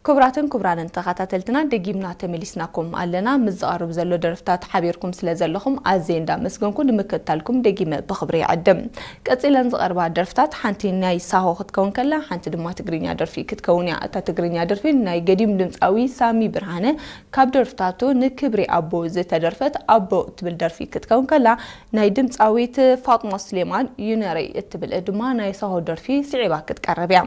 ክቡራትን ክቡራንን ተኸታተልትና፣ ደጊምና ተመሊስናኩም ኣለና። ምስ ዝቐርብ ዘሎ ደርፍታት ሓቢርኩም ስለ ዘለኹም ኣዝየ እንዳመስገንኩ፣ ንምክትታልኩም ደጊመ ብኽብሪ ይዕድም። ቀጺለን ዝቐርባ ደርፍታት ሓንቲ ናይ ሳሆ ክትከውን ከላ፣ ሓንቲ ድማ ትግርኛ ደርፊ ክትከውን እያ። እታ ትግርኛ ደርፊ ናይ ገዲም ድምጻዊ ሳሚ ብርሃነ ካብ ደርፍታቱ ንክብሪ ኣቦ ዝተደርፈት ኣቦ እትብል ደርፊ ክትከውን ከላ፣ ናይ ድምጻዊት ፋጥማ ስሌማን ዩነረይ እትብል ድማ ናይ ሳሆ ደርፊ ስዒባ ክትቀርብ እያ።